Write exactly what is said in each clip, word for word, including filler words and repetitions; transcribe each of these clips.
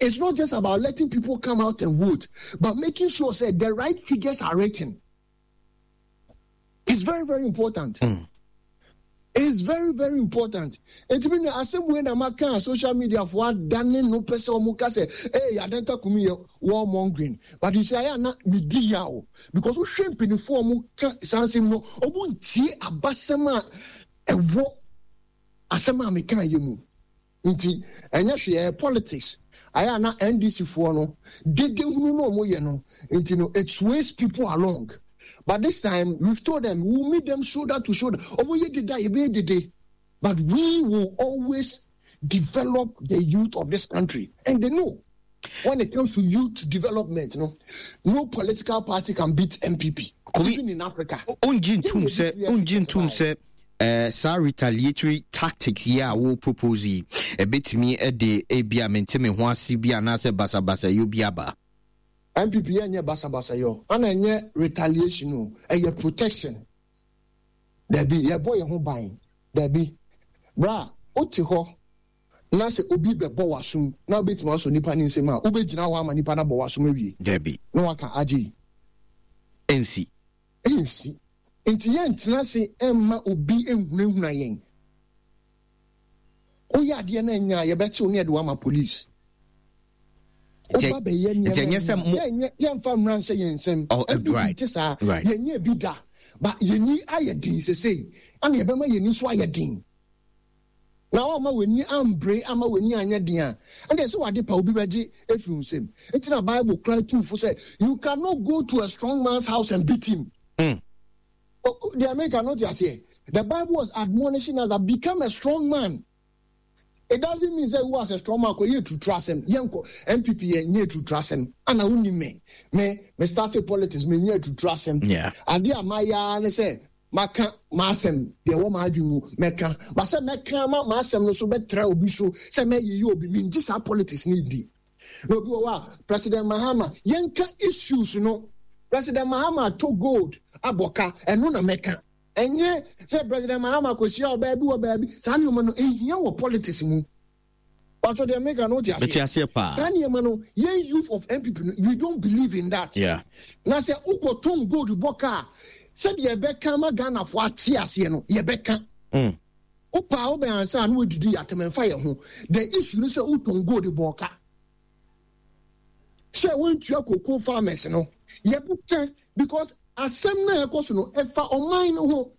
It's not just about letting people come out and vote, but making sure say the right figures are written. It's very, very important. Mm. It's very, very important. Nti mi nua, asɛm wei na maka social media fo adane no pɛ sɛ ɔmo ka sɛ ee Adenta Kumi yɛ warmongering, but you see, ayɛ ana mi di yaw because wohwɛ mpanyinfoɔ a ɔmo ka saa nsɛm no, ɔmo ntie abasɛm a ɛwɔ asɛm a meka yɛ mu. Nti ɛnyɛ hwee, ɛyɛ politics. Ayɛ ana N D C foɔ no dede hunu no ɔmo yɛ no nti no, it sways people along, but this time we've told them we will meet them shoulder to shoulder. Ɔmo yɛ dede a, yɛbɛyɛ dede, but we will always develop the youth of this country, and they know when it comes to youth development no no political party can beat N P P. Kumi, even in Africa. Ongye ntum sɛ ongye ntum sɛ uh, saa retaliatory tactics yi a wo propose yi, ɛbɛtumi de ebi a mente me ho ase bi anaasɛ basabasa yɛ bi aba? N P P yɛ nyɛ basabasa yɛ, ana ɛnyɛ retaliation o, ɛyɛ protection. Dabi, yɛbɔ yɛn ho ban. Dabi, bra, wote hɔ na sɛ obi bɛbɔ w'asom na wobɛtumi asɔ nipa ne nsɛm a, wobɛgyina hɔ ama nipa no abɔ w'asom awie? Dabi. Na waka agye? Ɛnsi. Ɛnsi. Nti yɛntena ase ɛmma obi nhunahuna yɛn. Woyɛ adeɛ no anya a, yɛbɛkyew ne yɛde wo ama police. Woba bɛyɛ Nti ɛnyɛ sɛ mo nneɛma, yɛmfa mmara nhyɛ yɛn nsɛm. Oh, eh, N P P right. te saa. Right. Yɛnyɛ bi da, ba yɛni ayɛ den sesei, ana yɛbɛma yɛni nso ayɛ den. Na wama w'ani ambere ama w'ani anyɛ den a, ɛnna sɛ wade pa obi bɛgye efiri wo nsam. Nti na Bible kora tumfo sɛ you cannot go to a strong man's house and beat him. Mm. Oh, the American not aseɛ. The Bible was admonishing us that become a strong man. It doesn't mean say wo as a strong man kɔ yɛ tutu asɛm. Yɛnkɔ N P P, yɛ nyɛ tutu asɛm. Ana wonni me me me started politics, me nyɛ tutu asɛm. Yeah. Ade a mayɛ ne sɛ maka m'asɛm deɛ ɛwɔ m'adwene mu mɛka, ba sɛ mɛka ma m'asɛm no so bɛtra obi so sɛ mɛyeyɛ obi, mengye saa politics ne di. Na obi wɔ hɔ a, President Mahama, yɛnka issues no. President Mahama to gold abɔka, ɛno na mɛka. Ɛnyɛ sɛ President Mahama kɔhyia ɔbaa bi wɔ baabi. Saa nneɛma no ɛhia wɔ politics mu. Patro, deɛ meka no, wote Mete aseɛ? Aseɛ paa. Saa nneɛma no, yɛn youth of N P P no, we don't believe in that. Yeah. Na sɛ wokɔtɔn gold bɔ ka a, sɛdeɛ ɛbɛka ma Ghanafoɔ ate aseɛ no, yɛbɛka. Mm. Wopaa wobɛn ansa na wɔdidi yɛatem, ɛmfa yɛ ho. The issue no sɛ wotɔn gold bɔ ka sɛ wɔntua cocoa farmers no, yɛbɛka, because asɛm no a ɛkɔ so no, ɛfa ɔman no ho.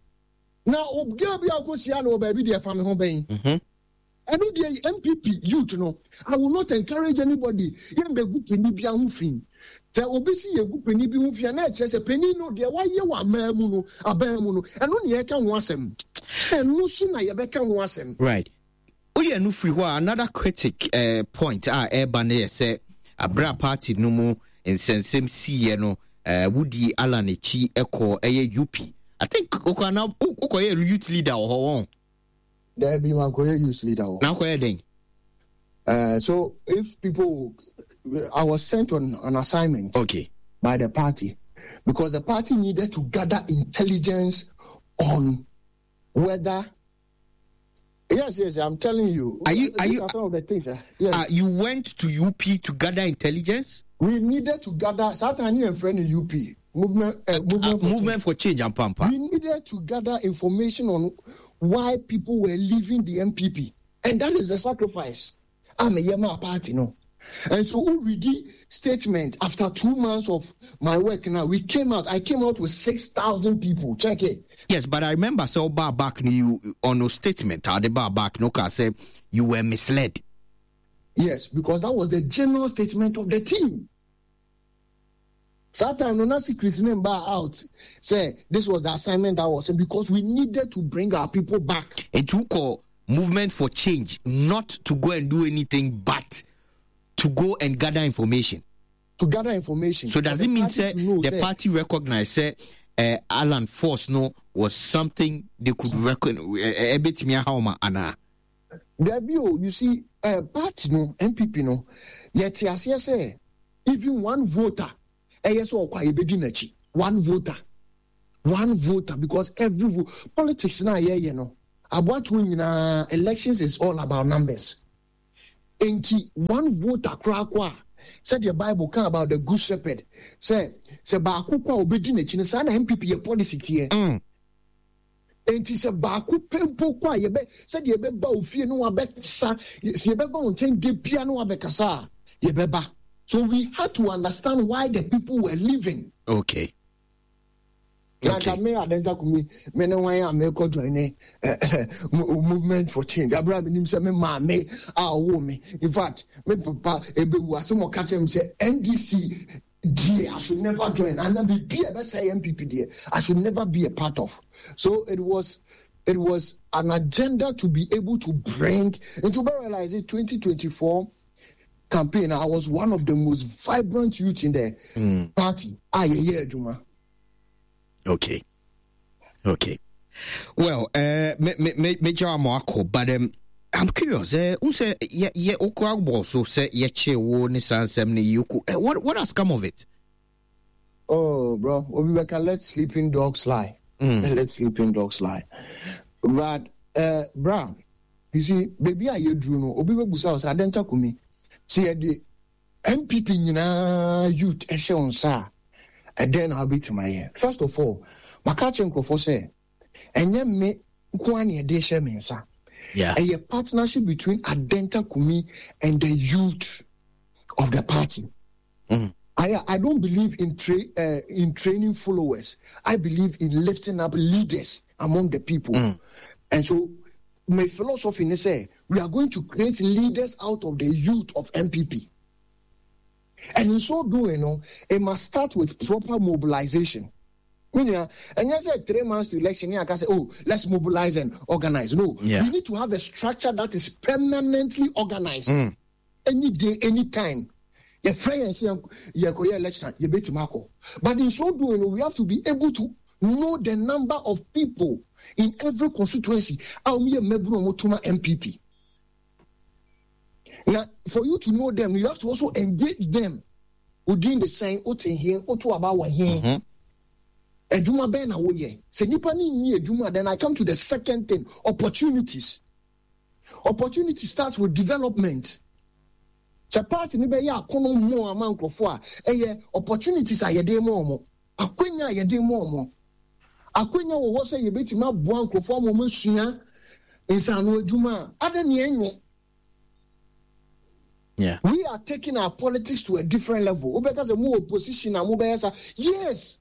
Na obiara bi a wokɔhyia no wɔ baabi deɛ, ɛfa me ho bɛn? Mhm. Ɛno deɛ, N P P youth no, I will not encourage anybody. Yɛmbɛgu panin bi ho fi. Sɛ obi si yɛgu panin bi ho fi a, na ɛkyerɛ sɛ panin no deɛ wayɛ wɔ aman mu no, aban mu no, ɛno ne yɛka ho asɛm. Ɛno so na yɛbɛka ho asɛm. Right, woyɛ no firi hɔ a, another critic uh, point a ɛreba no yɛ sɛ aberɛ a party no mu nsɛnsɛm siiɛ no, uh, wodi Alan akyi kɔ ɛyɛ U P, I think wokɔ ana wokɔyɛ youth leader wɔ hɔ wɔn? Daabi, mankɔyɛ youth leader wɔ. Na wokɔyɛ dɛn? Uh, so if people, I was sent on an assignment okay by the party because the party needed to gather intelligence on whether, yes yes I'm telling you. Are you- are These you- are some of the things, uh, yes. uh, you went to U P to gather intelligence? We needed to gather. Satan and friend in U P movement, uh, movement, uh, for Movement for Change and pampa. We needed to gather information on why people were leaving the N P P, and that is the sacrifice I'm a Yema party no. And so we read statement after two months of my work. Now we came out. I came out with six thousand people. Check it. Yes, but I remember sɛ ɔbaa back no, you on a statement a ɔde baa back no ka sɛ you were misled. Yes, because that was the general statement of the team. That time, no, not secret name bar out. Say this was the assignment that was because we needed to bring our people back. Nti wokɔ Movement for Change not to go and do anything but to go and gather information? To gather information. So does For it the mean party say to know, the say, party recognize say uh, Alan Force no was something they could reckon ɛbɛtumi aha ɔma anaa? Dabi o, you see, uh, party no, N P P no, yɛte aseɛ sɛ even one voter, ɛyɛ sɛ ɔkɔ a, yɛbɛdi n'akyi. One voter, one voter, because every vote, politics na yɛyɛ no, aboatoɔ nyinaa, elections is all about numbers. Enti one voter koraa kɔ a, sɛdeɛ Bible ka about the good shepherd sɛ sɛ baako kɔ a obɛdi n'akyi no, saa na N P P yɛ policy teɛ. Mm. Enti sɛ baako pɛ mpo kɔ a, yɛbɛ sɛdeɛ yɛbɛba wo fie no wabɛkasa, sɛ yɛbɛba wo nkyɛn de bia no wabɛkasa a, yɛbɛba. So we had to understand why the people were leaving. Okay. Na nka me Adenta Kumi, me ne wan a mekɔ join ne eh, eh, Movement for Change abere a menim sɛ me maame a ɔwoo me, in fact me papa ebewu asɛm ɔka kyerɛ me sɛ N D C deɛ, I should never join, ana biribi a ɛbɛsɛe N P P deɛ, I should never be a part of. So it was it was an agenda to be able to bring into realize it. twenty twenty-four campaign, I was one of the most vibrant youth in the mm. party a yɛyɛ adwuma. Okay. Okay. Well, uh, me me me me akɔ, but um, I'm curious. Uh, sɛ yɛ yɛ okura bɔ so sɛ yɛkye wo ne saa nsɛm ne yi uh, what what has come of it? Oh, bro, obi bɛka, let sleeping dogs lie. Mm. Let sleeping dogs lie. But uh, bra, you see, baby a yɛduru no, obi bɛbusa wo sɛ, Adenta Kumi, sɛ yɛde N P P nyinaa youth ɛhyɛ wo nsa a, ɛdɛn na wobɛtumi ayɛ? First of all, maka kyerɛ nkurɔfoɔ sɛ ɛnyɛ me nko ara na yɛde hyɛ me nsa. Yeah. Ɛyɛ partnership between Adenta Kumi and the youth of the party. Mm. I, I don't believe in tra- uh, in training followers. I believe in lifting up leaders among the people. Mm. And so my philosophy is sɛ we are going to create leaders out of the youth of N P P. And in so doing, you know, it must start with proper mobilization. And yes, three months to election, I can say, "Oh, let's mobilize and organize." No, yeah. we need to have a structure that is permanently organized. Mm. Any day, any time. Your friend say you election, you bet. But in so doing, we have to be able to know the number of people in every constituency. N P P. Now, for you to know them, you have to also engage them. Within the same, wote he, woto aba wɔ he. Adwuma bɛn na woyɛ? Sɛ nipa ne nyi adwuma, then I come to the second thing, opportunities. Opportunity starts with development. Sɛ party ne bɛyɛ akono mu ama nkurɔfoɔ a, ɛyɛ opportunities a yɛde ma wɔn, akwanya a yɛde ma wɔn. Akwanya wɔ hɔ sɛ yɛbɛtumi aboa nkurɔfoɔ ama wɔn asua nsano adwuma a ada nea ɛnyɛ. Yeah. We are taking our politics to a different level. Wobɛka sɛ mo opposition a mobɛyɛ sa. Yes,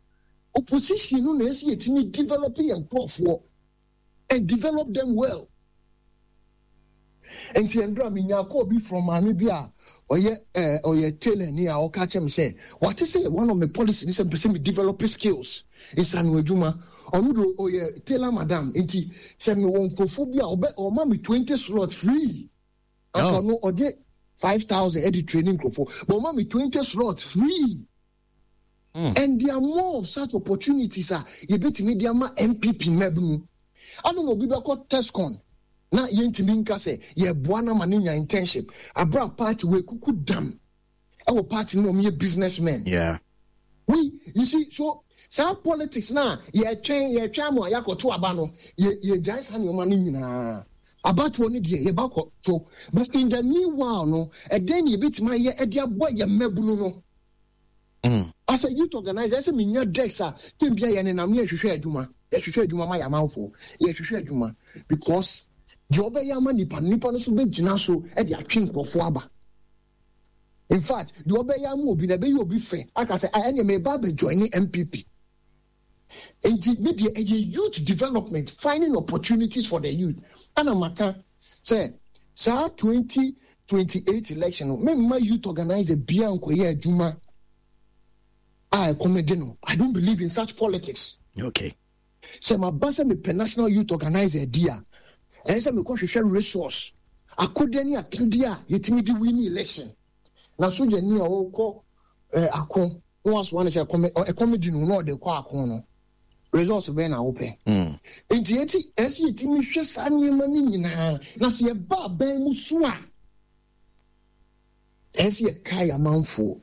opposition no na ɛsɛ yɛtumi develop yɛn nkurɔfoɔ and develop them well. Nti ndra menya call bi from maame bi a ɔyɛ ɛɛ ɔyɛ tailor ni a ɔka kyerɛ me sɛ wate sɛ one of my policy ni sɛ mpɛ sɛ me develop skills, nsano adwuma. Ɔno de ɔyɛ tailor madam, nti sɛ mewɔ nkurɔfoɔ bi a ɔbɛ ɔma me twenty slots free. Anka ɔno ɔgye five thousand ɛde training nkurɔfoɔ, but ɔma me twenty slots free. Mm. And there are more of such opportunities a yɛbɛtumi de ama N P P mmabunu. Ano na obi bɛkɔ TESCON na yɛntumi nka sɛ yɛboa no ama ne nya internship abere party wɔ ekuku dam ɛwɔ party no mu, ɔmo yɛ businessmen. Yeah. We, you see, so saa politics na yɛtwɛn yɛtwɛn ama yɛakɔto aba no, yɛ yɛgyae saa nneɛma no nyinaa. Abatoɔ no deɛ, yɛba kɔto, but in the meanwhile no, ɛdɛn na yɛbɛtumi ayɛ ɛde aboa yɛ mmabunu no? Mm. As a youth organizer, ɛsɛ menya desk a tem bia yɛ nenam ne yɛhwehwɛ adwuma, yɛhwehwɛ adwuma ma yɛ amanfoɔ, yɛhwehwɛ adwuma, because deɛ ɔbɛyɛ ama nipa no, nipa no nso bɛgyina so de atwe nkurɔfoɔ aba. In fact, deɛ ɔbɛyɛ ama obi na ɛbɛyɛ obi fɛ aka sɛ, "Ah, ɛnneɛ meba abɛjoin ne N P P" Nti me deɛ, ɛyɛ youth development, finding opportunities for the youth. Ɛna maka sɛ saa twenty twenty eight election no, memma youth organizer bia nkɔyɛ adwuma a ɛkɔm de no. I don't believe in such politics. Okay. Sɛ maba sɛ mepɛ national youth organizer di a, ɛyɛ sɛ mekɔhwehwɛ resource, akodeɛ ne akadeɛ a yɛtumi de win election. Na sogyani a ɔkɔ eh, ako na wasoa no sɛ ɛkɔm ɛkɔm di no na ɔde kɔ ako no, results bɛn na wopɛ? Mm. Nti yɛti ɛsɛ yɛtumi hwɛ saa nneɛma no nyinaa. Na sɛ yɛba aban mu so a, ɛsɛ yɛkae amanfoɔ.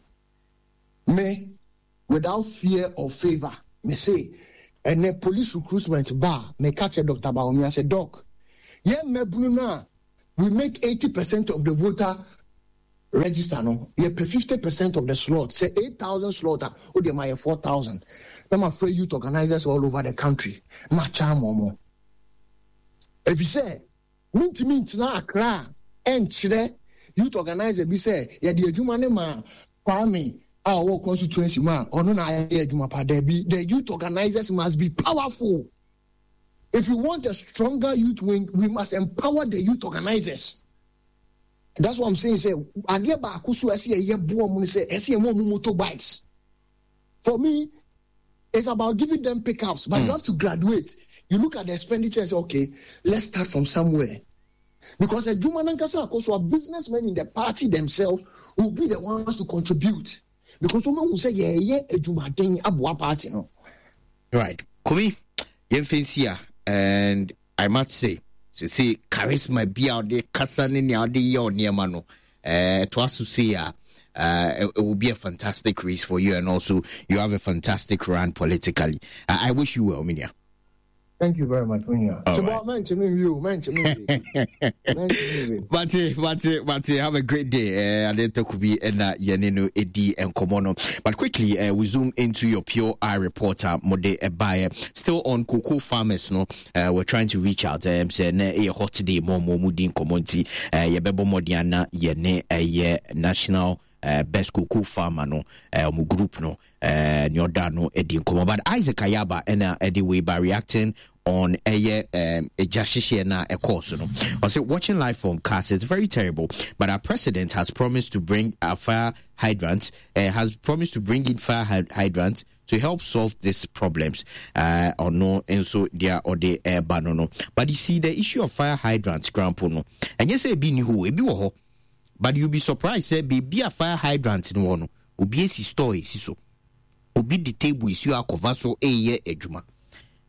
Me, without fear or favour, mese ɛnɛ police recruitment ba a, meka kyerɛ Doctor Bawumia sɛ, "Doc, yɛn mmabunu no a we make eighty percent of the voter Register no, yɛpɛ fifty percent of the slot. Sɛ eight thousand slot a, wodeɛ ma yɛ four thousand. Na mafrɛ youth organizers all over the country na makyɛ ama ɔmo. Ɛfiri sɛ mentumi ntena Accra a ɛnkyerɛ youth organizer bi sɛ yɛde adwuma ne ma Kwame a ɔwɔ constituency mu a, ɔno na ayɛ adwuma pa. Daabi, the youth organizers must be powerful. If you want a stronger youth wing, we must empower the youth organizers. That's what I'm saying. Sɛ adeɛ baako so ɛsɛ yɛyɛ boɔ mu sɛ ɛsɛ yɛ mo ɔmo motorbikes. For me, it's about giving them pickups, but mm. you have to graduate. You look at the expenditure and say, "Okay, let's start from somewhere." Because adwuma nankasa akɔ so a, businessmen in the party themselves will be the ones to contribute. Because wɔn ahu sɛ yɛyɛ adwumaden aboa party no. Right. Kumi, yɛmfa nsi a, and I must say, sɛ charisma bi a ɔde kasa ne nea ɔde yɛ nneɛma no, ɛtoa so sei a, uh, it will be a fantastic race for you, and also you have a fantastic run politically. I, I wish you well, Minia. Thank you very much, Minia. Mate, mate, mate, have a great day. Uh, Adenta Kubi and yɛne no edi nkɔmmɔ no. But quickly, uh, we zoom into your Pure Eye reporter, Mode Ebaye. Still on cocoa farmers, no. Uh, we're trying to reach out. Um, sɛ na ɛyɛ hot day mo mo mu di nkɔmmɔ nti, uh, yɛbɛbɔ mmɔden ana yɛne ɛyɛ national uh, best cocoa farmer no, uh, ɔmo group no, uh, nea ɔda no adi nkɔmmɔ. But Isaac Ayaba ɛna ɛde wei ba, reacting on ɛyɛ um, ɛgya hyehyeɛ na ɛkɔɔ so no. Ɔsɛ, "Watching live from Cars, it's very terrible, but our president has promised to bring a fire hydrant, uh, has promised to bring in fire hydrants to help solve these problems." Uh, ɔno nso deɛ ɔde ɛreba no no But you see, the issue of fire hydrants, grandpo no, ɛnyɛ sɛ ebi ni hɔ, ebi wɔ hɔ, but you be surprised sɛ beebi a fire hydrant no wɔ no, obi esi store esi so, obi de table esi hɔ akɔfa so ɛreyɛ adwuma,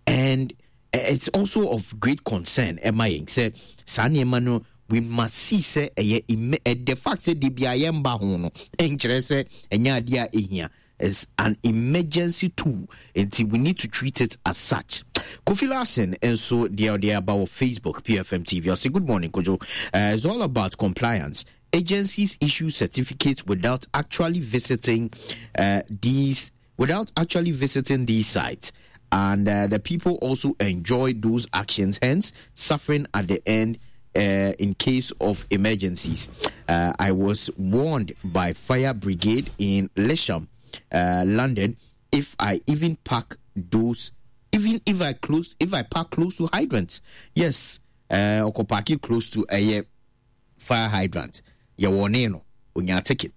and it's also of great concern ɛma yɛn sɛ saa nneɛma no, we must see sɛ ɛyɛ the fact sɛ de bia yɛn ba ho no nkyerɛ sɛ ɛnyɛ adeɛ a ehia. Is an emergency tool, nti we need to treat it as such. Kofi Larson nso deɛ ɔde aba wɔ Facebook P F M T V, ɔsɛ, "Good morning, Kojo. uh, it's all about compliance. Agencies issue certificates without actually visiting uh, these without actually visiting these sites, and uh, the people also enjoy those actions, hence suffering at the end uh, in case of emergencies. Uh, I was warned by fire brigade in Lesham, uh, London, if I even park those, even if I close, if I park close to hydrants." Yes, uh, park close to a fire hydrant. Yɛwɔ ne no, onya ticket.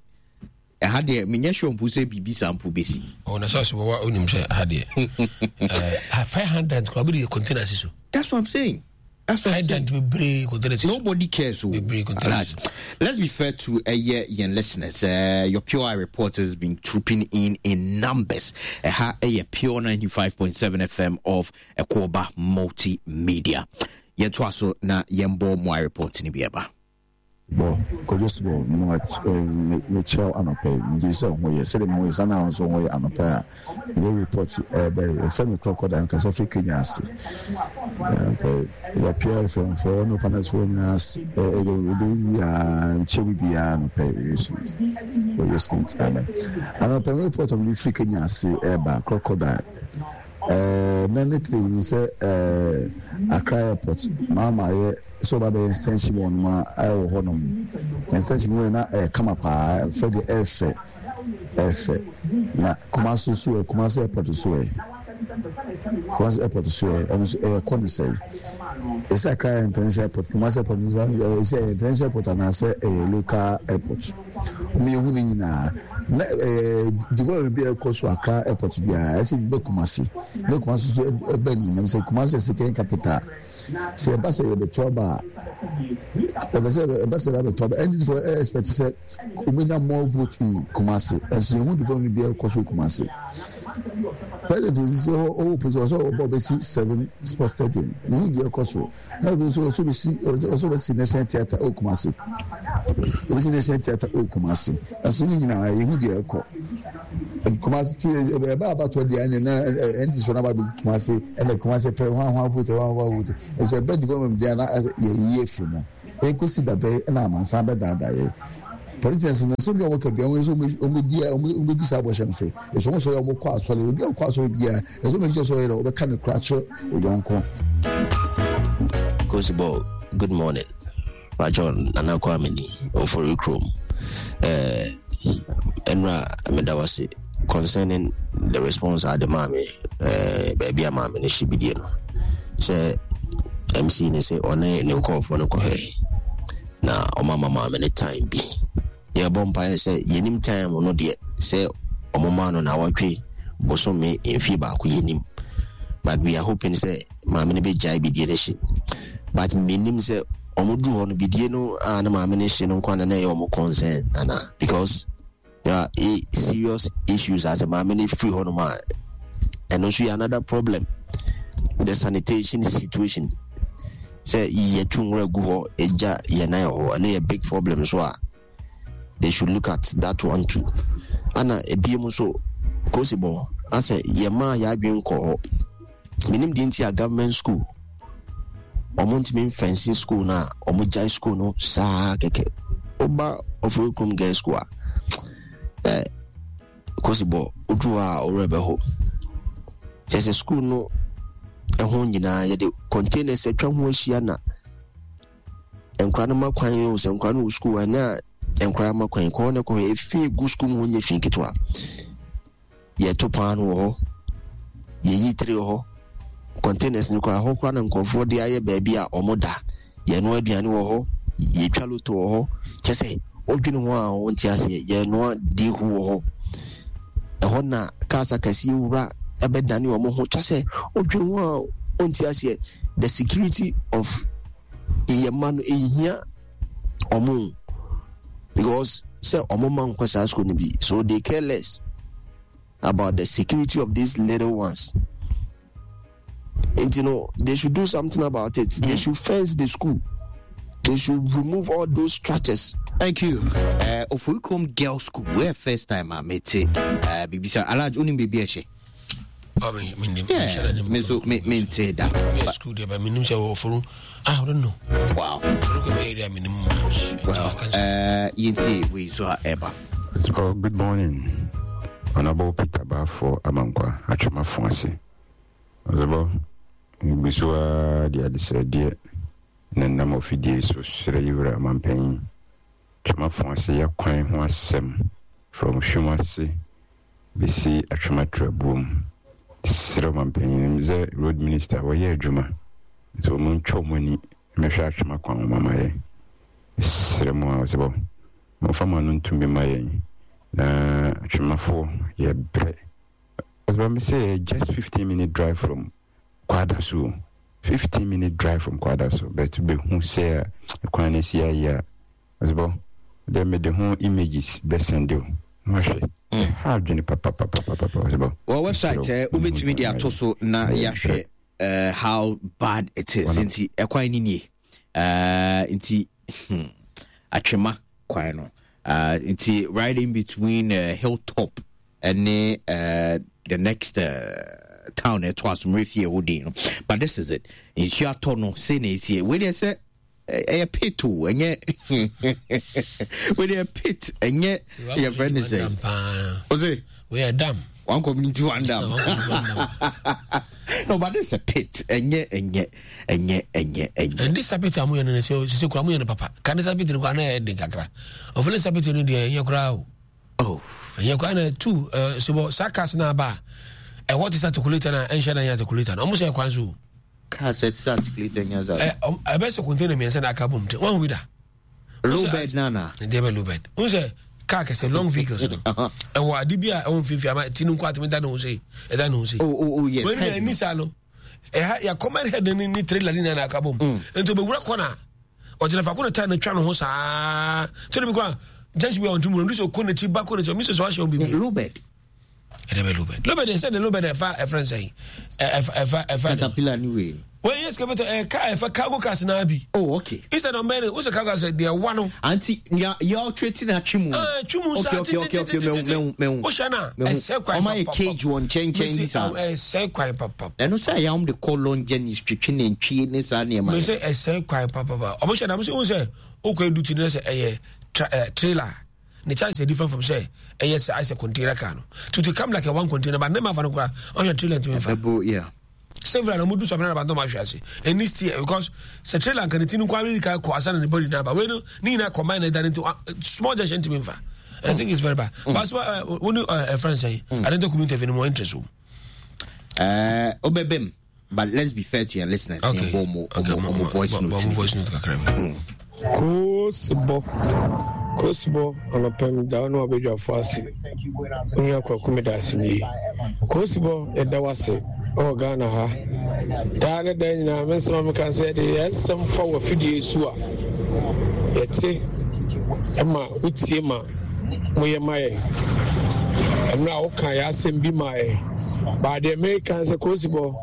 Ɛha deɛ, menyɛ sure mpo sɛ biribi saa mpo bɛsi. Ɔna sɛ ɔsɛ wɔwa wonim sɛ ha deɛ, fire hydrant kora wobɛde container si so. That's what I'm saying. That's what hydrant bebree container si so. Nobody cares. Oh. Bebree container si so. Let's be fair to uh, yeah, yɛn listeners. Uh, your Pure Eye reporters has been trooping in in numbers. Ɛha uh, uh, Pure ninety-five point seven F M of Ekoba Multimedia. Yɛntoa so na yɛmbɔ mo report ni bi ɛba. Bɔ Kwadwo Sebɔ, mekyia wo anɔpa yi. Megye sɛ ho yɛ sɛdeɛ meho yɛ saa na nso ho yɛ. Anɔpa a mede report ɛbɛ, yɛfrɛ me Crocodile, nkasa firi Kenya ase. Yɛapia F M foɔ ne panasfoɔ nyinaa ase, ɛde biaa nkyɛ bi biaa anɔpa yi. Wɔyɛ smooth, wɔyɛ smooth, amen. Anɔpa me report a mede firi Kenya ase ɛba, Crocodile, na ne tiri mu sɛ Accra Airport maama yɛ sɛ ɔba bɛyɛ extension wɔ nom a ɛwɔ hɔ nom. Extension mu yɛ na ɛyɛ kama paa, ɛfɛ deɛ, ɛfɛ ɛfɛ. Na Kumasi so yɛ, Kumasi Airport so yɛ, Kumasi Airport so yɛ, ɛno nso ɛyɛ kɔ ne sɛ ɛsɛ Accra yɛ international airport, Kumasi Airport nso ɛsɛ ɛyɛ international airport anaasɛ ɛyɛ local airport. Wɔn yɛ hu ne nyinaa na ɛɛ development bi a ɛkɔ so Accra Airport biara ɛsɛ bi bɛ Kumasi ne Kumasi so ɛbɛ ne nyinam sɛ Kumasi yɛ second capital. Sɛ ɛba sɛ yɛbɛto aba a, ɛbɛ sɛ ɛba sɛ ɛbɛto aba, N D C fo ɛ expect sɛ wɔn more vote in Kumasi, ɛnso yɛn ho development bi a ɛkɔ so Kumasi. President osisi hɔ, ɔwɔ president ɔsɛ ɔbɔ ɔbɛsi seven sports stadium, ne ho deɛ ɛkɔ so. Na obi nso ɔsɛ ɔbɛsi ɔsɛ ɔbɛsi National Theatre ɛwɔ Kumasi, ɔbɛsi National Theatre ɛwɔ Kumasi, ɛso ne nyinaa yɛn ho deɛ ɛkɔ Kumasi ti. Ɛbɛ abatoɔ deɛ ɛna na N D C so n'aba bi Kumasi, ɛna Kumasi pɛ hwan hwan vote, hwan hwan vote, ɛso ɛbɛ development deɛ na yɛ yie firi mu. Ekosi dabɛ ɛna amansan bɛdaadaa yɛ. Politicians no nsɛm bi a wɔka biara wɔn nso wɔbɛdi wɔbɛdi saa bɔhyɛ no so. Ɛsɛ wɔn sɔre a wɔkɔ asɔre obi a ɔkɔ asɔre biara ɛsɛ wɔn sɛ ɔyɛ dɛ ɔbɛka ne kora kyerɛ oyɔnko. Kosibɔ, good morning. Pacho Nana Kwame ni Ofori Krom. Eh, enra meda wase concerning the response a de maa me eh, baabi a maame no hye bidie no sɛ M C ne sɛ ɔne ne nkurɔfoɔ no kɔhwɛ na ɔma ma maame no time bi. Yɛbɔ mpaeɛ sɛ yɛnim time no deɛ sɛ ɔmo maa no na wɔtwe bosome mfie baako yɛnim, but we are hoping sɛ maame no bɛgyae bidie no hye, but menim sɛ ɔmo duru hɔ no bidie no a na maame no hye no nkwa na na ɛyɛ ɔmo concern nana, because there are serious issues as a maame no firi hɔ nom a ɛno nso yɛ another problem, the sanitation situation sɛ yɛtu nwura gu hɔ egya yɛn nan wɔ hɔ, ɛno yɛ big problem so a they should look at that one too. Ana ebiem nso kosibɔ asɛ yɛmaa yɛadwen kɔ hɔ, menim deɛ nti a government school ɔmo ntumi mfɛnse school no a ɔmo gyae school no saa kɛkɛ. Woba Ofori Kurom girls school a ɛ kosibɔ woduru hɔ a ɔwerɛ bɛho kyerɛ sɛ school no ɛho nyinaa yɛde containers atwa ho ahyia na nkora no ma kwan o, sɛ nkora no wɔ school a na nkora ma kwan kɔ na kɔ efi gu school mu hɔ nyɛ fi ketewa. Yɛto paano wɔ hɔ, yɛyi tiri wɔ hɔ, containers no koraa hɔ koraa na nkurɔfoɔ de ayɛ baabi a ɔmo da, yɛnoa aduane wɔ hɔ, yɛtwa loto wɔ hɔ, kyɛ sɛ wodwene ho a wonte aseɛ, yɛnoa dehu wɔ hɔ, ɛhɔ na cars akɛseɛ wura ɛbɛdane ɔmo ho, kyɛ sɛ wodwene ho a wonte aseɛ. The security of yɛ mma no ehia ɔmo, because sɛ ɔmo ma nkɔ saa school no bi, so they care less about the security of these little ones. And you know, they should do something about it. Mm. They should fence the school. They should remove all those structures. Thank you. Uh, Ofori Kurom Girls School. Where first time I met it. Uh, Bibi sir, Alaj unim bibi eshe. Oh, me, me, me, yeah, me so me me nte da. Yeah, school there, but me nim say Ofori. Ah, I don't know. Wow. Ofori area me nim. Well, uh, yinti we so eba. Oh, good morning. Honorable Peter Bafo Amankwa Atwema Fonse. Ozebo Gbisua di adesrɛdeɛ na nam ofidie so srɛ yiwura mampanyin. Atwema Fonse yɛ kwan ho asɛm from Hwimase besi Atwema Trabuom. Srɛ mampanyin sɛ road minister wɔyɛ adwuma. Nti wɔn ntwa wɔn ani mmɛhwɛ Atwema kwan ho mama yɛn. Srɛ mu a ozebo momfa mo ano ntumi ma yɛn na Atwemafoɔ yɛ brɛ. Ozebo me say just fifteen minute drive from Kwadaso. fifteen minute drive from Kwadaso. But be who say kwan na si ayi a ozebo de me de ho images be send you. Mahwe. Ha adwene papa papa papa ozebo. Well, website eh ubetumi de ato so na yahwe uh, how bad it is. Nti ekwan ni nie. Uh, nti Atwema kwan no. Uh, nti right in between uh, Hilltop and uh, the next uh, town at Twasumrefie Odin. But this is it. Nsuo atɔ no say na esie. We dey say a pit o enye. We dey pit enye your friend is say. Ose we are dam. One community one dam. No, but this is a pit. Enye enye enye enye enye. And this pit amu yene se se kura mu yene papa. Kan this pit ko na e den kakra. Ofele pit no de enye kura o. Oh. Enye kura na two eh so sakas na ba. E what is articulator na enhye na articulator. Omo se kwan so. Car set articulator nya za. Eh e be se container mi ense na aka bom te. Wan hu da. Low bed nana. De be low bed. Un se car kese long vehicles no. E wo ade bia e won fifi ama ti nko atimi da no se. E da no se. Oh oh oh yes. When you ni sa no. E ha ya common head ni ni trailer ni na aka bom. Ento be wura corner. O jina fa ko na time na twa no ho saa. To be kwa just we on tomorrow so ko na chi ba ko na mi so so ahye obi. Low bed. E de be low bed. Low bed say the low bed e fa e friend say. E fa e fa Caterpillar anyway. Well, yes, Capital, eh, car, if a cargo cars na bi. Oh, okay. It's an man, what's a cargo said there one. Auntie, ya ya treating a chimu. Ah, chimu. Okay, okay, okay, okay. Me me. Oshana, e se kwa. O my cage one chain chain this. E se kwa papa. E no say ya um de call long journey twetwe ne ntwie ne sa ne ma. Me say e se kwa papa. Omo shana, me say o say o kwa duty ne say eh trailer. Ne chance is different from say ɛyɛ sɛ ayɛ sɛ container car no to to come like a one container, but ne ma fa no koraa ɔhwɛ trailer ntumi nfa. Ɛbɛbo, yeah. Several na ɔmo du sɔmi na abantɔn ma ahwɛ ase ɛni steer, because sɛ trailer nka ne ti no nkwa ne ka kɔ asa na ne body na aba wei no ne nyinaa combine na ɛda ne ti small junction ntumi nfa, and I think it's very bad mm. But uh, wo ne uh, friend sɛn mm. Adenta Kumi interview no mo interest wo. Uh, obebem, but let's be fair to your listeners. Okay. Mo, okay, mo, mo, voice note. Mo voice note kakra. Mm. Kosibɔ, kosibɔ, anɔpa mi da wo ne wabadwafo ase. Wo nua Kwaku meda ase nie. Kosibɔ, yɛda wo ase ɛwɔ Ghana ha. Daa ne da nyinaa me nsɛm a meka sɛ yɛde yɛn nsɛm fa wɔ afidie so a yɛte ma wotie ma moyɛ ma yɛn. Ɛmmerɛ a woka yɛ asɛm bi ma yɛn. Baa deɛ meka sɛ Kosibɔ,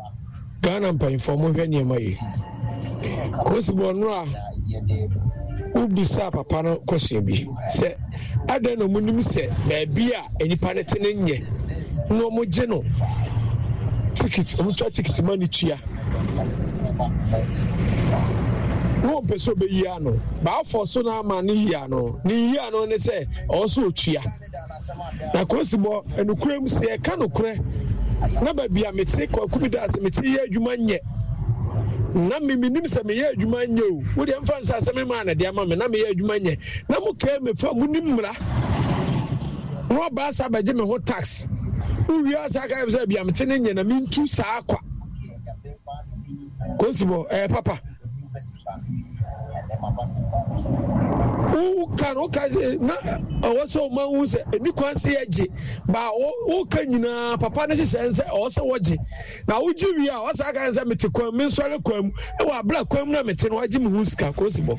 Ghana mpanyinfoɔ mohwɛ nneɛma yi. Kosibɔ, nnora wobisa papa no question bi sɛ adɛn na ɔmo nim sɛ baabi a nnipa no te no nyɛ na ɔmo gye no ticket, ɔmo twa ticket ma ne tua na ɔmpɛ sɛ ɔbɛyi ano baafɔ so na ama ne yi ano ne yi ano ne sɛ ɔwɔ sɛ ɔtua. Na Kosibɔ, nokorɛ mu sɛ yɛka nokorɛ na baabi a mete Kwaku bi da ase mete yɛ adwuma nyɛ na me menim sɛ meyɛ adwuma nyɛ o, wodeɛ mfa nsa sɛ me maa na de ama me na meyɛ adwuma nyɛ na mo kaa me fa monim mmara na ɔbaa sa bɛgye me ho tax wowie asa ka sɛ bia mete ne nyɛ na mentu saa kwa. Kosibɔ, ɛyɛ papa woka no woka na ɔwɔ sɛ ɔma hu sɛ ɛni kwan sɛ yɛgye ba woka nyinaa papa no hyehyɛ sɛ ɔwɔ sɛ wɔgye na wogye wie a ɔsaa ka sɛ mete kwan mu mensɔre kwan mu ɛwɔ abera kwan mu na mete no wagye me ho sika. Kosibɔ,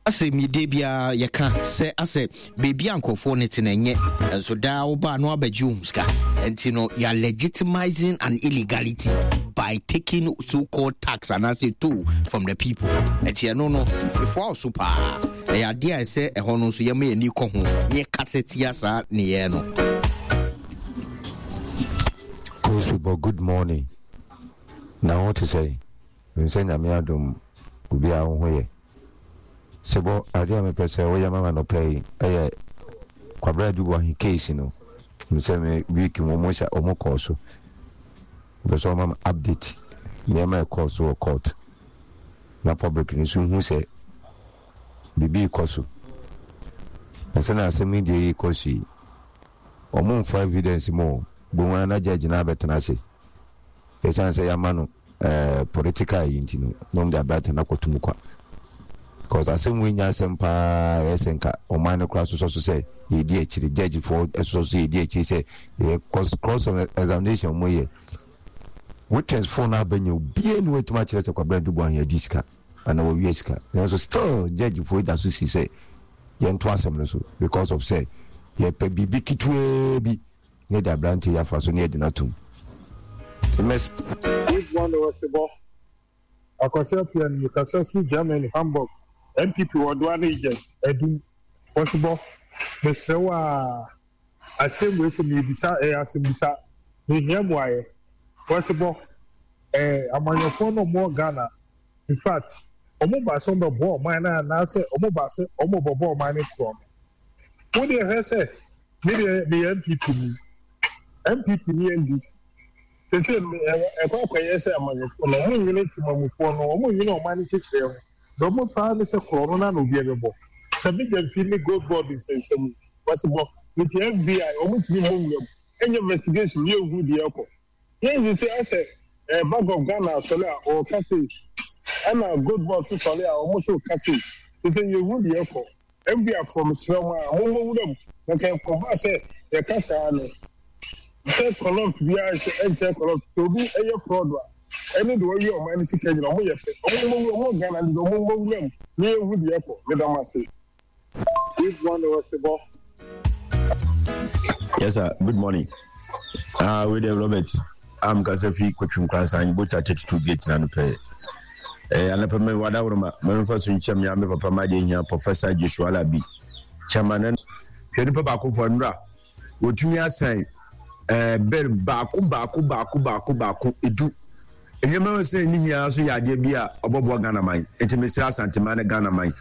asɛ mide biara yɛka sɛ asɛ baabi a nkurɔfoɔ no te no ɛnyɛ nso daa wobaa no abɛgye wo sika nti no you are legitimizing an illegality by taking so-called tax anaasɛ toll from the people. Nti ɛno no ɛfoa wo so paa, ɛyɛ adeɛ a ɛsɛ ɛhɔ no nso yɛma yɛni kɔ ho ne yɛkasa tia saa nneyɛɛ no. Kosubɔ, good morning. Na ho te sɛ nsɛ Nyame adom obiara wo ho yɛ. Sebɔ, adeɛ a mepɛ sɛ woyɛ ma me anɔpa yi ɛyɛ Kwabena Adu-Boahene case no. Sɛ me week mu ɔmo hyɛ ɔmo kɔɔ so. Mepɛ sɛ ɔma me update nneɛma ɛkɔɔ so wɔ court. Na public no nso hu sɛ biribi rekɔ so. Na sɛ na asɛm yi deɛ yi kɔ so yi, ɔmo mfa evidence mu o. Bohu ara na judge no abɛtena ase. Ɛsiane sɛ yɛama no eh, political yi nti no, na ɔmo de aberante no akɔto mu kwa. Because asɛm wei nya asɛm paa, ɛyɛ sɛ nka ɔman no koraa sosɔ so sɛ yɛdi akyire, judgefoɔ sosɔ so yɛdi akyire sɛ yɛ cross cross examination ɔmo yɛ witness foɔ no abɛnya obiara ni wɔatumi akyerɛ sɛ Kwabena Adu-Boahene adi sika anaa wɔwia sika, nanso still judgefoɔ yi da so si sɛ yɛnto asɛm no so because of sɛ yɛpɛ biribi ketewaa bi ne yɛde aberante yi afa so ne yɛde no atom. Nti mɛs. Good morning, Osebo. Akwasi Appiah ni mekasa firi Germany, Hamburg. N P P wɔ Duane Agent, Adum. Osebo, mesrɛ wo a, asɛm wei sɛ mebisa, ɛyɛ asɛmbisa. Mehia mmuaeɛ. Osebo, eh, amanyɔfoɔ no ɔmo wɔ Ghana, in fact, ɔmo ba sɛ ɔmo bɛboa ɔman no anaasɛ ɔmo ba sɛ ɔmo bɛbɔ ɔman no korɔ no. Wo deɛ hwɛ sɛ, me deɛ meyɛ N P P ni. N P P ne N D C. Sese ɛkɔ akɔyɛ sɛ amanyɔfoɔ no ɔmo nwene temamufoɔ no, ɔmo nwene ɔman no kyekyerɛ ho. Deɛ ɔmo paa ne sɛ korɔ no na na obi ɛbɛbɔ. Sɛ me gyamfi ne gold board nsɛnsɛm yi, wɔsi bɔ. Nti F B I ɔmo ntumi mmɔ nwura mu ɛnyɛ investigation yɛ nhu deɛ ɛkɔ. Yɛn sese asɛ ɛɛ Bank of Ghana asɔre a ɔɔka sei, ɛna gold board so sɔre a ɔmo so ka sei. Sese yɛ nhu deɛ ɛkɔ. F B I foɔ, mesrɛ mo a mommɔ nwura mu. Na nka ɛkɔba sɛ yɛka saa no sɛ corrupt biara nhyɛ ɛnkyɛ corrupt sɛ obi ɛyɛ fraud a ɛne deɛ ɔyɛ ɔman no sika nyina ɔmo yɛ pɛ. Ɔmo mmɔ nwura ɔmo Ghana no deɛ ɔmo mmɔ nwura mu na yɛnhu deɛ ɛkɔ. Meda mo ase. Good morning, Osebo. Yes, sir. Good morning. Ah, we there, Robert. I'm Kasafi Kwachum Kransan, Bota thirty-two gate na no pɛ. Eh, anapa me wada woroma, me mfa so nkyɛm ya me papa ma de hia Professor Joshua Alabi. Chairman no hwɛ nipa baako fo nra. Wotumi asan eh ber baako baako baako baako baako edu. Nneɛma sɛ ne hia so yɛ adeɛ bi a ɔbɔboa Ghana man. Nti mesrɛ Asanteman ne Ghana man.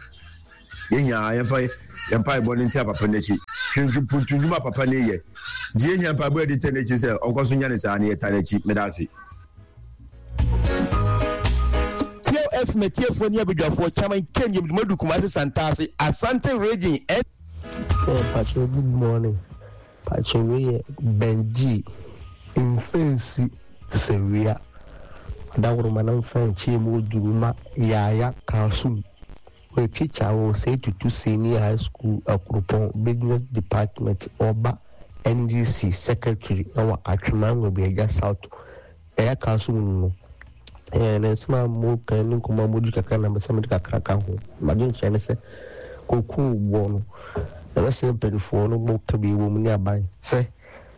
Yɛn nyinaa yɛmfa Yɛn mpaebɔ no ntaa papa no akyi. Hwɛ mpuntu nnwuma a papa no reyɛ. Nti yɛhia mpaebɔ a yɛde taa n'akyi sɛ ɔnkɔ so nya ne saa na yɛtaa n'akyi. Meda ase. Pure F M atiefoɔ ne abadwafoɔ, Chairman Ken Yemdumadu, Kumasi Santase, Asante Region. Hey, Pacho, good morning. Pacho, we yɛ Benji Mfɛnsi Sewia. Adaworoma na mfa nkyɛn mu oduruma Yaya Kasum. Wɔyɛ teacher wɔ Osei Tutu Senior High School, Akuropɔn, Business Department. Ɔba N D C Secretary ɛwɔ Atwima Nwabiagya South. Yaya Kasum no no. Ɛɛ na nsɛm a mo kan ne nkɔmɔ a mo di kakra na mbɛsɛ mo de kakra ka ho. Madwenkyerɛ ne sɛ kokoo boɔ no, ɛbɛsɛ mpanimfoɔ no mo ka bi wɔ mu ne aban sɛ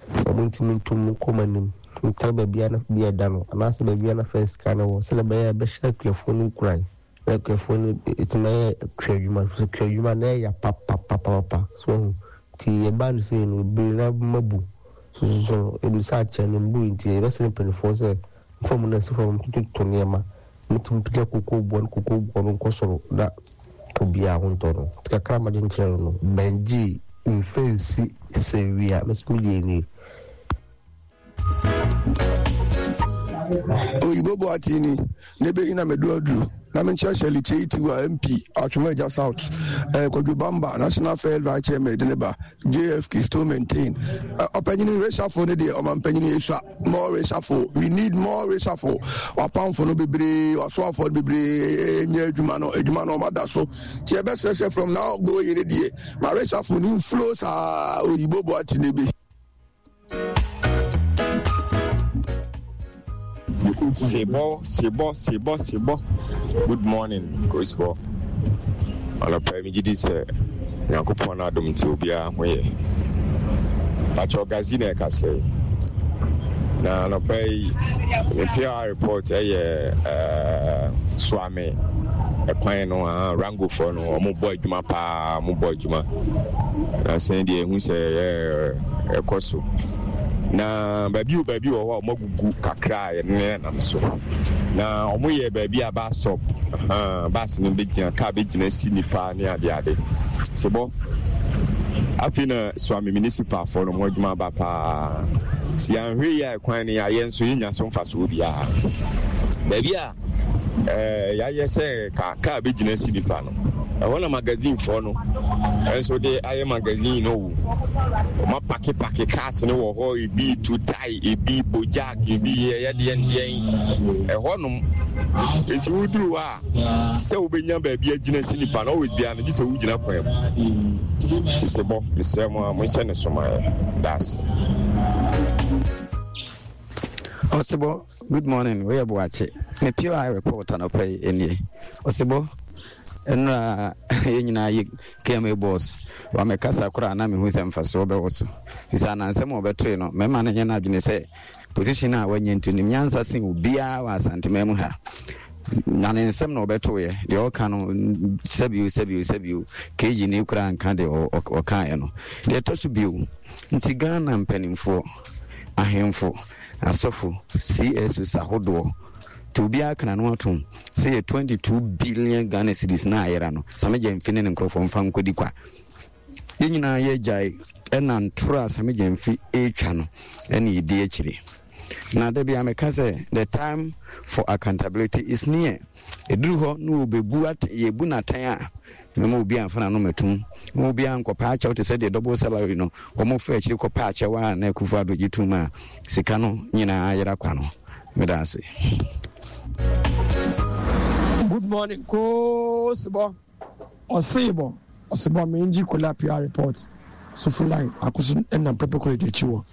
wɔn ntumi ntum nkɔ wɔn anim ntena baabi a na bi ɛda no anaasɛ baabi a na fɛn sika no wɔ, sɛdeɛ ɛbɛyɛ a ɛbɛhyɛ akuafoɔ no nkuran na akuafoɔ no ɛtumi ayɛ kua adwuma so. Kua adwuma na ɛyɛ papapapapa so ɛho nti yɛba no sɛ no bebree na mabu sososo no ebi sɛ akyɛ no mbu. Nti yɛbɛsrɛ mpanimfoɔ sɛ nfa mu na si fam tututu nneɛma mutumi pagya kokoo boɔ no, kokoo boɔ no nkɔ soro na obiara ho ntɔ no. Nti kakra ma gyenkyerɛ no no Bɛngye Mfɛnsi Sɛwia mɛso mi deɛ nie. Oyibo Boatini ne bɛyi na medu aduru na menkyerɛkyerɛ Likyei Tiwa M P Atwoma Agya South, eh, Kwadwo Bamba National First Vice Chairman de ne ba J F K still maintain. eh, ɔpanyini reshuffle ne deɛ, ɔmampanyini esua more reshuffle, we need more reshuffle. Wapamfo no bebree, wasoafoɔ no bebree nyɛ adwuma no, adwuma no ɔmada so nti yɛbɛsrɛ from now going ne deɛ ma reshuffle no mflow saa. Oyibo Boatini bi. Sebɔ, sebɔ, sebɔ, sebɔ. Good morning, Kosibɔ. Anɔpa yi megye di sɛ Nyankopɔn no adom nti obiara ho yɛ. Pakyɛ Gazi na ɛkasa yi. Na anɔpa yi me P R report ɛyɛ ɛɛ Suame ɛkwan no ah Rangofoɔ no, wɔn bɔ adwuma paa, wɔn bɔ adwuma. Na sɛn deɛ ehu sɛ ɛɛ ɛkɔ so. Na baabi o baabi wɔ hɔ a wɔn agugu kakra a yɛde nenam so. Na wɔn yɛ baabi a bus stop, bus no bɛgyina, car bɛgyina si nipa ne ade ade. Sebɔ afei na Suame municipal foɔ no wɔn adwuma aba paa. Si anhwɛ yi a, ɛkwan no yɛayɛ nso yɛnya so mfasoɔ biara. Baabi a ɛɛ yɛayɛ sɛ kaa kaa bɛgyina si nipa no, ɛhɔ na magazine foɔ no nso de ayɛ magazine no o. Wɔn apakepake cars no wɔ hɔ, ebi tu tae, ebi bojak, ebi yɛ deɛ deɛn ɛhɔ nom. Nti woduru hɔ a, sɛ wobɛnya baabi agyina si nipa no, always biara no gye sɛ wogyina kwan mu. Sisi bɔ mesrɛ mo a monhyɛ ne somaeɛ daase. Ɔsebɔ, good morning. Woyɛ Boakye. Me P R report anɔpa yi nie. Ɔsebɔ, nnura yɛn nyinaa yɛ K M A boss. Wamɛkasa koraa na mehu sɛ mfasoɔ bɛwɔ so. Fisɛ anansɛm a ɔbɛtoe no, mɛma no nyɛ no adwene sɛ position a wanya nti nim nyansa sen obiara wɔ Asanteman mu ha. Na ne nsɛm na ɔbɛtoeɛ. Deɛ ɔka no, sɛbio sɛbio sɛbio, K G ne koraa nka deɛ ɔkaeɛ no. Deɛ ɛtɔ so bio, nti Ghana mpanimfoɔ, ahemfo, asɔfo, C S Os ahodoɔ nti obiara kana no atom sɛ yɛ twenty-two billion Ghana cedis na ayera no, Sammy Gyamfi ne ne nkurɔfoɔ mfa nkɔdi kwa. Yɛn nyinaa yɛgyae ɛna ntoro a Sammy Gyamfi ɛretwa no ɛne yɛdi akyire. Na da bi a meka sɛ the time for accountability is near. Ɛduru hɔ na wɔbɛbu at yɛbu n'atɛn a, mɛma obi amfa n'ano mɛtum ma obi ankɔpa akyɛw te sɛ deɛ double salary no wɔn fa akyiri kɔpa akyɛw a na Akufo Addo gye tum a sika no nyinaa ayera kwa no. Meda ase. Good morning, Koosibɔ. Ɔseebɔ, ɔsebɔ, mengye kola P R report. Sofo line akoso nam Prempeh College akyi wɔ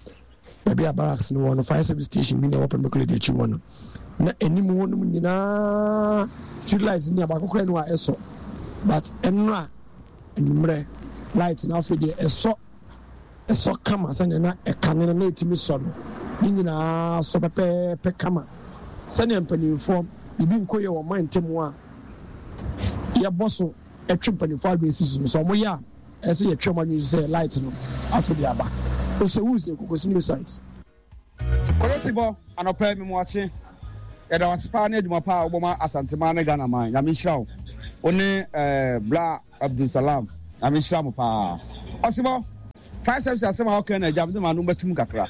baabi a barracks no wɔ no, fire service station bi na ɛwɔ Prempeh College akyi wɔ no. Na anim hɔ nom nyinaa street light ni abaako koraa ni hɔ a ɛsɔ, but ɛnora anwummerɛ light na afei deɛ ɛsɔ, ɛsɔ kama sɛnea na ɛkane no na ɛtumi sɔ no, ne nyinaa sɔ pɛpɛɛpɛ kama sɛnea mpanimfoɔ biribi nkɔ yɛ wɔ ɔman ntam a yɛbɔ so ɛtwe mpanimfoɔ adwene si so no sɛ ɔmo yɛ a, ɛsɛ yɛtwe ɔmo adwene si sɛ light no afei de aba. Osewus Kokosi new site. Kɔyɛsibɔ, anɔpa mi mu akye. Yɛda wase paa ne adwuma paa a wobɔ ma Asanteman ne Ghana man. Nyame nhyira wo. Wo ne eh, Bla Abdulsalam. Nyame nhyira mo paa. Ɔsebɔ, Fire service asɛm a ɔka na agya mede m'ano bɛtum kakra.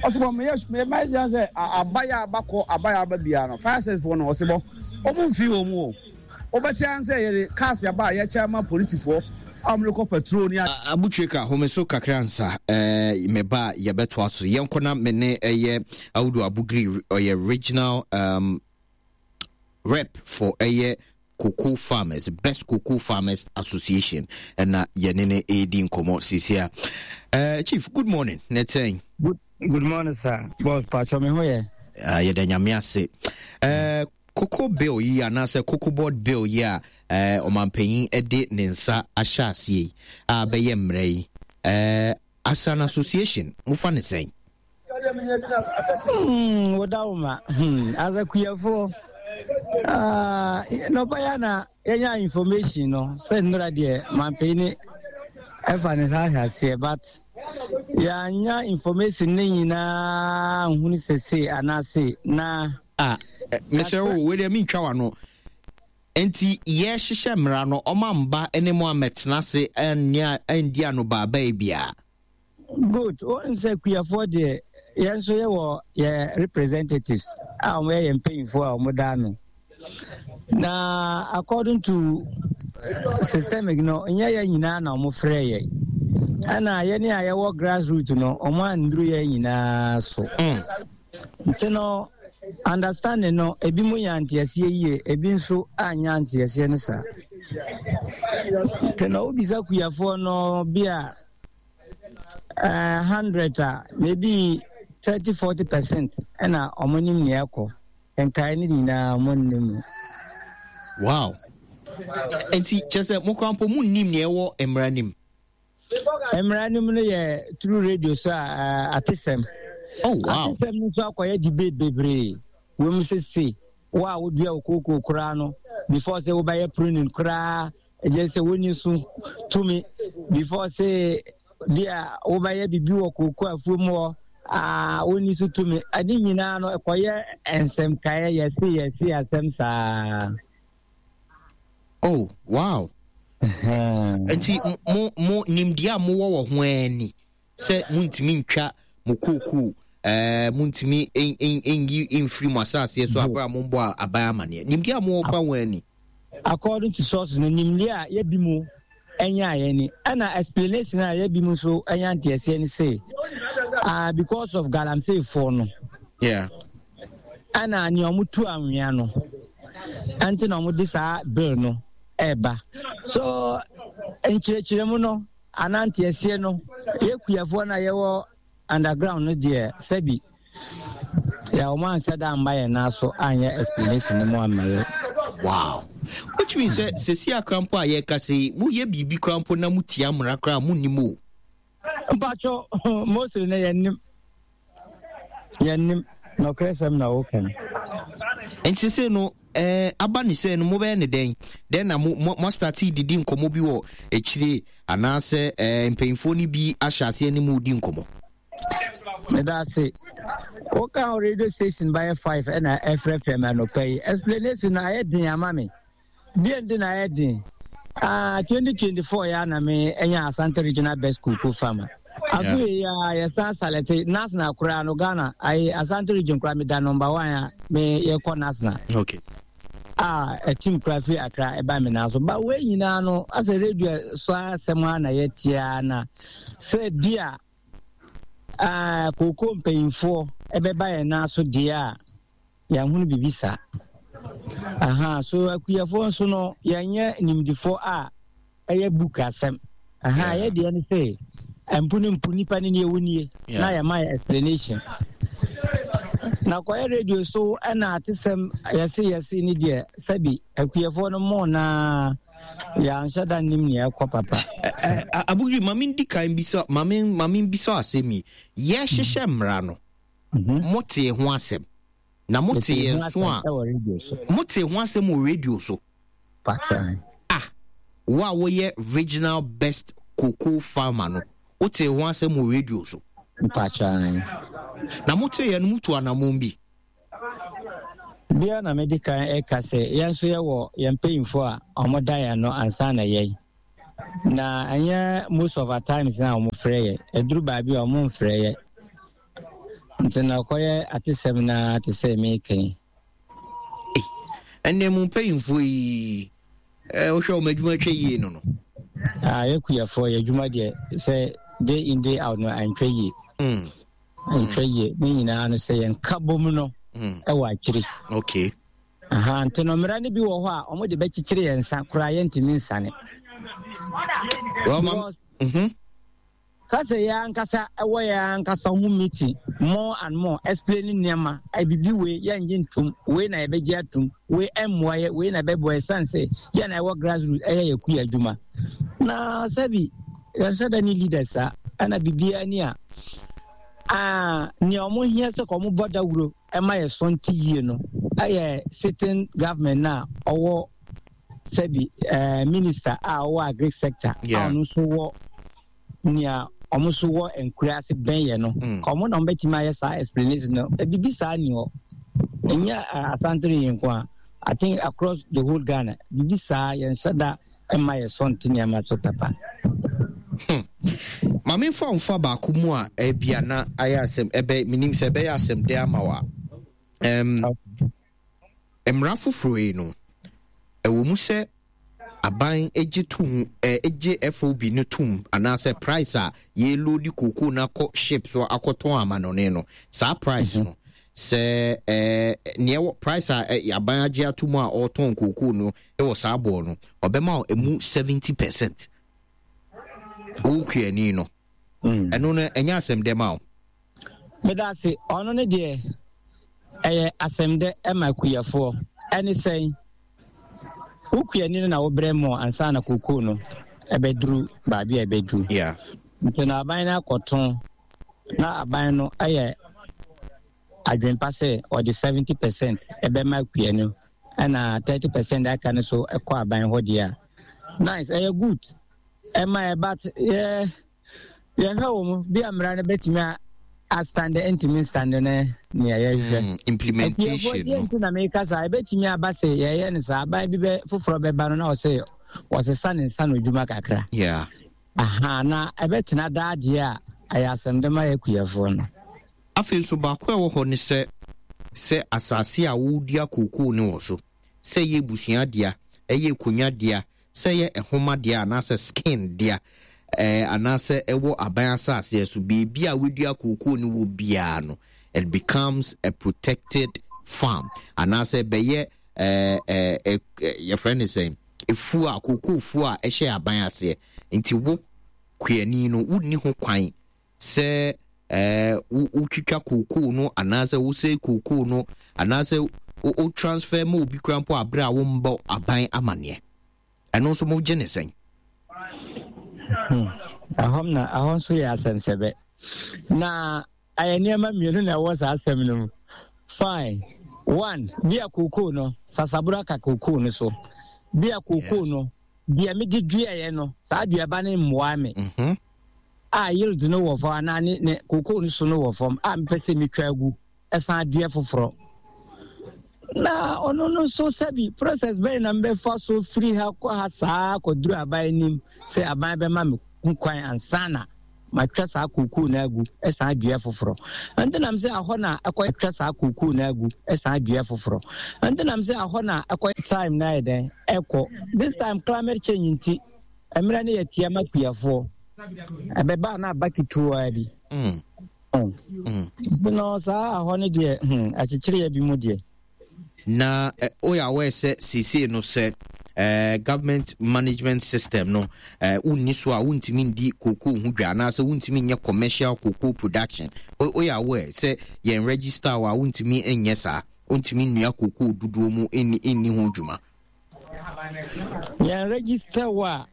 Ɔsebɔ, meyɛ meyɛ mayɛ sɛ aba yɛ aba kɔ aba yɛ aba biara no fire service foɔ no ɔsebɔ wɔn mfi wɔn mu o. Wobɛte ara sɛ yɛde cars aba a yɛkyɛ ama polisifoɔ a wɔde kɔ patrol ne. Abutweka, home so kakra ansa eh, me ba a yɛbɛtoa so. Yɛnkɔ na me ne ɛyɛ Audu Abugri, ɔyɛ regional um, rep for ɛyɛ Cocoa Farmers, Best Cocoa Farmers Association, ɛna yɛne no ɛredi nkɔmmɔ seesei a. Uh, Chief, good morning. Na ɛtɛn. Good, good morning, sir. Boss, pacho me ho yɛ. Uh, yɛda Nyame ase. Uh, Cocoa bill yi anaasɛ cocoa board bill yi a uh, ɔmanpanyin de ne nsa ahyɛ aseɛ yi a bɛyɛ mmerɛ yi uh, as an association mofa ne sɛn? Hmm, woda wo ma. Hmm, as a kuafoɔ, ah, nɔpa ya na yɛnya information no sɛ nnora deɛ manpanyin ne ɛfa ne nsa ahyɛ aseɛ but yɛanya information ne nyinaa nhunu sɛ sei anaase na Ah, mesrɛ wo, wei deɛ mentwa w'ano. Enti yɛhyehyɛ mmara no, ɔma mba ne mo ammɛtena ase anni anobaabae biara. Good. Wonim sɛ kuafoɔ deɛ yɛn nso yɛwɔ yɛ representatives a wɔyɛ yɛn mpanyinfoɔ a wɔda ano. Na according to systemic no, nyɛ yɛn nyinaa na wɔfrɛ yɛn. Ɛna yɛne a yɛwɔ grassroot no, wɔn anduru yɛn nyinaa so. Mm. Nti no, understanding no, ebi mu nya nteaseɛ yie, ebi nso anya nteaseɛ no saa. Nti no, wobisa kuafoɔ no bi a uh, hundred a, maybe thirty forty percent ɛna wɔn nim nea ɛkɔ. Nkae no nyinaa wɔn nnim mu. Wow. Nti kyerɛ sɛ mo koraa mpo munnim nea ɛwɔ mmara nim. Mmara no mu no yɛ through radio so a atesɛm. Oh, wow. Atesɛm no nso akɔyɛ debate bebree. Wɔn mu sɛ se wo a wodua wo kookoo koraa no before sɛ wobɛyɛ pruning koraa ɛgye sɛ wonni so tumi before sɛ bi a wobɛyɛ biribi wɔ kookoo afuo mu hɔ a wonni so tumi. Ɛde nyinaa no ɛkɔyɛ nsɛmkaeɛ yɛse yɛse asɛm saa. Oh, wow. Nti mo mo nimdeɛ a mowɔ wɔ ho ara ni sɛ montumi ntwa mo kookoo ɛɛ eh, montumi nyi mfiri mo asaseɛ so abere a mombɔ aban amaneɛ. Nimdeɛ a mowɔ fa ho ara ni. According to sources no, nimdeɛ a yɛbi mu nyaeɛ ni ɛna explanation a yɛbi mu nso anya nteaseɛ ne sɛ ah, because of galamseyfoɔ no. Yeah. Ɛna nea wɔtu anwea no ɛnti na wɔde saa bill no ɛreba. So nkyerɛkyerɛmu no anaa nteaseɛ no yɛ kuafoɔ no a yɛwɔ underground no deɛ sɛbi yɛ wɔn ansɛ da amma yɛn nan so anyɛ explanation no mu amma yɛ. Wow. Which means sɛ sɛsi akora mpo a yɛka sɛ yi moyɛ biribi koraa mpo na motia mmara koraa monnim o. Mpacho mostly no yɛnnim. Yɛnnim. Nɔkorɛsɛm na woka no. Nti sese no eh, aba ne sɛ no mobɛyɛ ne dɛn? Dɛn na mo mo moastate didi nkɔmmɔ bi wɔ akyire anaasɛ eh, mpanyinfoɔ no bi ahyɛ aseɛ ne mo di nkɔmmɔ? Meda ase. Woka ho radio station bɛyɛ five ɛna ɛfrɛfrɛ me anɔpa yi. Explanation no ayɛ den ama me. Deɛ nti na ayɛ den? Ah, twenty twenty four ya na me nya Asante Regional Best Cocoa Farmer. Afei ya yɛsan salɛte national koraa no Ghana ayi Asante Region koraa meda number one a me yɛkɔ national. Okay. A ɛtim koraa firi Accra ɛba me nan so. Ba wei nyinaa no asɛ radio so asɛm a na yɛtia na sɛ bi a ah, kooko mpanyinfoɔ ɛbɛba yɛn nan so deɛ a yɛanhunu biribi saa. Aha, so akuafoɔ nso no, yɛnyɛ nimdefoɔ a ɛyɛ book asɛm. Aha, yɛ deɛ no sɛ, mpo no mpo nipa no nie wo nie, na yɛma yɛ explanation. Na kɔyɛ radio so ɛna atesɛm yɛse yɛse ne deɛ sɛbi akuafoɔ no mo na yɛanhyɛ da nnim nea ɛkɔ papa. Abugri, ma mendi kan bisa, ma me bisa asɛm yi. Yɛhyehyɛ mmara no, motee ho asɛm. Na motee yɛn so a motee ho asɛm wɔ radio so. Ah, wo a woyɛ regional best cocoa farmer no, wotee ho asɛm wɔ radio so. Na motee yɛn no mutu anammɔn bi. Bia na medi kan ɛka sɛ yɛn nso yɛwɔ yɛn mpanyinfoɔ a wɔda yɛn ano ansa na yɛn. Na ɛnyɛ most of our times na wɔn frɛ yɛ. Ɛduru baabi a wɔn mfrɛ yɛ. Nti na ɔkɔyɛ atesɛm na te sɛ meka yi. Ɛnna mu mpanyinfoɔ yi ɛɛ wohwɛ wɔn adwuma twɛ yie no no. Ah, yɛ kuyafoɔ yɛ adwuma deɛ sɛ day in day out no antwa yie. Mm. Antwa yie ne nyinaa no sɛ yɛn ka bom no mm. ɛwɔ akyiri. Okay. Aha, nti no mmara no bi wɔ hɔ a wɔde bɛkyekyere yɛn nsa koraa yɛntumi nsane. Well, ma, mm-hmm. Ka sɛ yɛn ankasa ɛwɔ yɛn ankasa ho meeting more and more explaining nneɛma bibi wei yɛngye ntom wei na yɛbɛgye atom wei ɛmmoa yɛ wei na ɛbɛboa yɛ san sɛ yɛn na ɛwɔ grassroots ɛyɛ yɛ kuya adwuma na sɛbi yɛnhyɛ da ne leaders saa ɛna biribiara ni a ah, nea wɔn hia sɛ ka wɔn bɔ dawuro ɛma yɛ so nte yie no ɛyɛ sitting government na ɔwɔ sɛbi ɛɛ minister a ɔwɔ agric sector a ɔno nso wɔ nea wɔn nso wɔ nkura ase bɛn yɛ no mm. ka wɔn na wɔn bɛtumi ayɛ saa explanation no ebibi saa ni hɔ ɛnyɛ asantere yɛn nko a I think across the whole Ghana bibi saa yɛn nhyɛ da ɛma yɛ so nte nneɛma so papa. Hmm. Maame nfa nfa baako mu a ebia na ayɛ asɛm ɛbɛ menim sɛ ɛbɛyɛ asɛm de ama wa. Um, mmara foforɔ yi no ɛwɔ mu sɛ aban gye tom gye F O B no tom anaasɛ price a yɛloadi kookoo no akɔ ship so akɔtɔn amanɔne no, saa price no sɛ ɛɛ nea ɛwɔ price a aban agye ato mu a ɔretɔn kookoo no wɔ saa boɔ no, ɔbɛma emu seventy percent wo kuani no. Ɛno no ɛnyɛ asɛm dɛ ma wo? Meda ase. Ɔno ne deɛ ɛyɛ asɛm dɛ ɛma akuafoɔ. Ɛne sɛn? Wo kuani no na wobrɛ mɔ ansa na kokoo no ɛbɛduru baabi a ɛbɛduru. Yeah. Nti na aban no akɔtɔn na aban no ɛyɛ adwempa sɛ ɔde seventy percent ɛbɛma akua no ɛna thirty percent aka no so ɛkɔ aban hɔ deɛ a, nice, ɛyɛ good ɛma ɛ, but yɛ yɛhwɛ wɔ mu bi a mmara no bɛtumi astande ntumi nstande ne nea yɛhwehwɛ. Mm, implementation no nti na meka saa. Ɛbɛtumi aba sɛ yɛyɛ no saa, aban bi bɛ foforɔ bɛba no na ɔsɛ wɔsesa ne nsa no adwuma kakra. Yeah. Aha, na ɛbɛtena daa deɛ a, ɛyɛ asɛm de ma yɛ kuafoɔ no. Afei nso baako a ɛwɔ hɔ ne sɛ sɛ asase a wodua kookoo no wɔ so, sɛ ɛyɛ abusua dea, ɛyɛ akonnwa dea, sɛ ɛyɛ nhoma dea anaasɛ skin dea, ɛɛ anaasɛ ɛwɔ aban asase so, beebi a wodua kookoo no wɔ biara no, it becomes a protected farm anaasɛ ɛbɛyɛ ɛɛ ɛɛ yɛfrɛ no sɛn, efuo a kookoo fuo a ɛhyɛ aban aseɛ. Nti wo kuani no wonni ho kwan sɛ ɛɛ wotwitwa kookoo no anaasɛ wosɛe kookoo no anaasɛ wo transfer ma obi kura mpo abere a wombɔ aban amanneɛ. Ɛno nso mogye ne sɛn? Ɛhɔ na ɛhɔ nso yɛ asɛmsɛbɛ na ɛyɛ nneɛma mmienu na ɛwɔ saa asɛm no mu. Fine, one, bi a kookoo no sasaboro aka kookoo no so, bi a kookoo no deɛ mede duaeɛ no saa duaba no mmoa me mm-hmm. a yield no wɔ fam anaa ne ne kookoo no so no wɔ fam a mepɛ sɛ metwa agu ɛsan dua foforɔ na ɔno no nso sɛbi process bɛyɛ na mbɛfa so firi ha kɔ ha saa kɔduru aban anim sɛ aban bɛma me ho kwan ansa na matwa saa kookoo no agu ɛsan dua foforɔ. Ɛnti nam sɛ ahɔ na ɛkɔ twa saa kookoo no agu ɛsan dua foforɔ. Ɛnti nam sɛ ahɔ na ɛkɔ time na ayɛ dɛn ɛkɔ this time climate change nti mmerɛ no yɛ tia ma kuafoɔ ɛbɛba na aba ketewa bi mm. mm. No saa ahɔ no deɛ, hmm, akyekyereɛ bi mu deɛ. Na woyɛ aware sɛ seesei no sɛ uh, government management system no uh, wonni so a wontumi ndi cocoa ho dwa anaasɛ wontumi nyɛ commercial cocoa production? Woyɛ aware sɛ yɛn register wɔ a wontumi nyɛ saa, wontumi nnua cocoa dodoɔ mu nni nni ho dwuma? Yɛn register wɔ a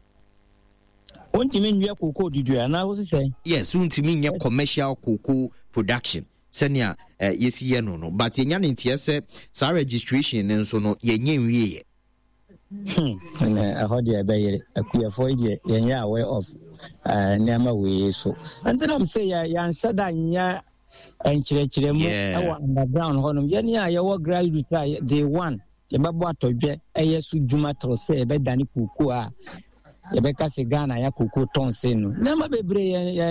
wontumi nnua cocoa dodoɔ anaa wosi sɛ? Yes, wontumi nyɛ commercial cocoa production sɛnea eh, yɛsi yɛ no no but yɛnya ne nteɛ sɛ saa registration no nso no yɛnyɛ nwieɛ. Hmm, ɛhɔ deɛ ɛbɛyere akuafoɔ yi deɛ yɛnyɛ aware of uh, nneɛma wei so. Nti nam sɛ yɛanhyɛ da nyɛ nkyerɛkyerɛ mu ɛwɔ underground hɔnom. Yɛne a yɛwɔ grassroots a day one yɛbɛbɔ atɔdwɛ ɛyɛ so dwuma tere sɛ yɛbɛdane kookoo a Yɛbɛka sɛ Ghana yɛ koko tɔn sen no. Nneɛma bebree yɛ yɛ